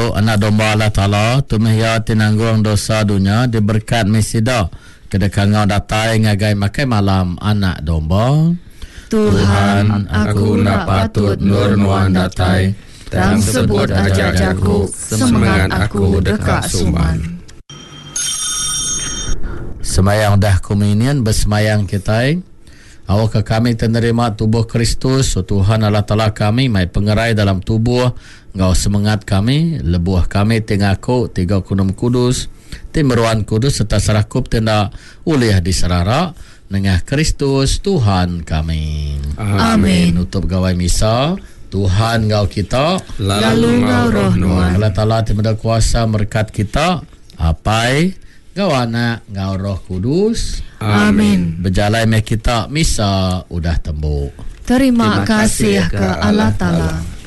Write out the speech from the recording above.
Tu Anak Domba Allah Taala, tu meh Iya ti nanggung dosa dunya, diberekat meh sida ke deka enggau datai ngagai makai malam Anak Domba. Tuhan, aku enda patut endur Nuan datai, tang sebut aja jaku, semengat aku deka suman. Semayang udah komunion besemayang kitai. Awakka kami ti nerima tubuh Kristus, O Tuhan Allah Taala kami, mai pengerai dalam tubuh enggau semengat kami, lebuh kami ti ngaku tiga Kunum Kudus, ti meruan kudus sereta serakup ti enda ulih diserara, nengah Kristus Tuhan kami. Amin. Nutup Gawai Misa, Tuhan enggau kita. Lalu enggau roh nuan. Allah Taala ti meda kuasa merekat kita, Apai, enggau Anak, enggau Roh Kudus. Amin. Bejalai meh kita, misa udah tembu. Terima kasih ke Allah Taala.